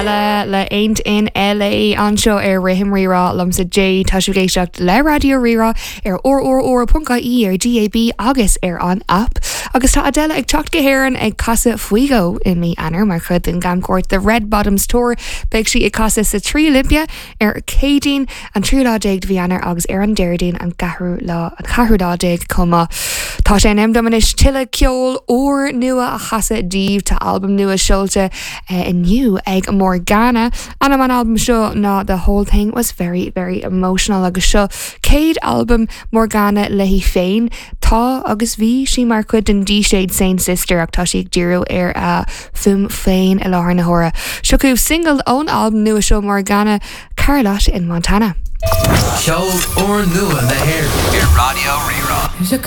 Adele le Ain't in LA anseo ar Rithim Rí-Rá liomsa Jade. Tá sibh ag éisteacht le Raidió Rí-Rá ar rrr.ie, ar DAB agus ar an app. Agus tá Adele ag teacht go hÉirinn ag casadh faoi dhó i mí Eanáir mar chuid den gcamchuairt The Red Bottoms Tour. Beidh sí ag casadh sa Tree Olympia ar Céadaoin an tríú lá déag de mhí Eanáir agus ar an Déardaoin an ceathrú lá an ceathrú lá déag chomh maith. Tá sé in am dom anois tuilleadh ceol úr nua a chasadh daoibh. Tá albam nua seolta inniu ag Morgana. Ainm an albaim seo ná The Whole Thing Was Very Very Emotional agus seo céad albam Morgana léi féin. Tá agus bhí sí mar chuid den díséad Saint Sister ach tá sí ag díriú ar a fuaim féin i láthair na huaire. Seo chugaibh single ón albam nua seo Morgana, Carlotta in Montana. Ceol úrnua na hÉireann ar Raidió Rí-Rá.